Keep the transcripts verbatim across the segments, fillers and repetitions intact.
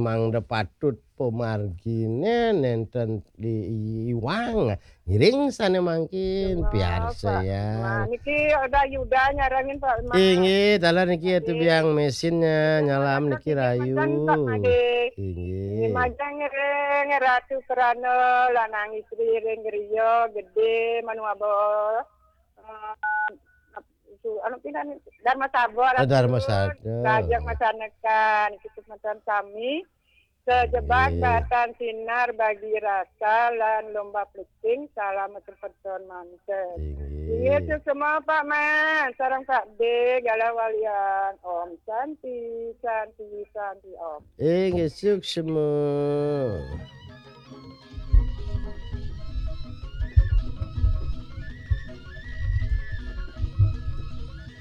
Mangda patut pamargine nenten di iwang. Ngiring sane mangkin, biar saya. Nah, niki ada Yuda nyarengin, Pak Mas. Inggih, taler niki atu biang mesinnya, nyalam niki rayu. Inggih. Majeng ngiring Ratu Krana, lanang istri ring griya gedé, manuaba, eh, su-, anu, pinan, Dharma Sabor, Dharma Sabor. Kajeng masanekan, cukup macan sami. Sejebak batan sinar bagi rasa lan lomba plecing, salam sepeton manten. Inggih. Inggih, suksma Pak Man, sareng Pak D, galah walian. Om Santi, Santi, Santi, Om. Inggih, suksma.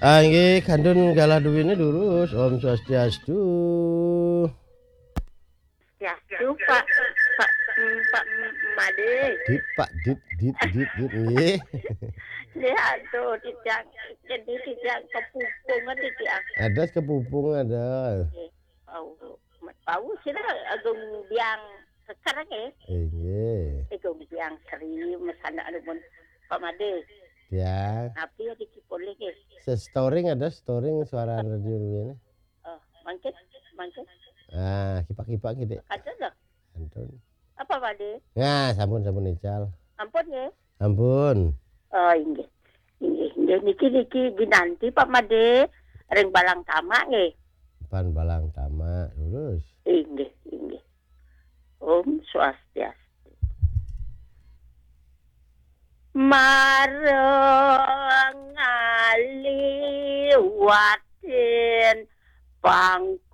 Ah, inggih, kantun galah duwine durus. Om Swastiastu. Ya, lupa, Pak, mm, Pak, mm, Made. Dit, Pak, dit, dit, dit, dit, nggih. Nggih, aduh, titiang, jadi titiang kepupung, titiang. Ada kepupung, ada. Nggih, bau, bau sira agung biang sekarang, nggih. Inggih. Agung biang seri, mesana anu pun, Pak Made. Ya. Tapi ya dikipulih, nggih. Se-, storing ada, storing suara radio ini. Oh, mangkin, mangkin. Ah, kipak-kipak gitu. Kada dah. Ampun. Apa, Pak De? Nah, sampun, sampun ical. Ampun, nggih. Ampun. Oh, inggih. Inggih, inggih. Niki, niki ginanti, Pak Made. Ring Balang Tamak, nggih. Pan Balang Tamak, lurus. Inggih, inggih. Om Swastiastu. Marang ngaliwatin pangkung.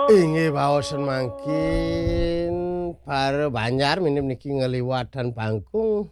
Inggih, baosan mangkin, para Banjar minip niki ngaliwatan pangkung.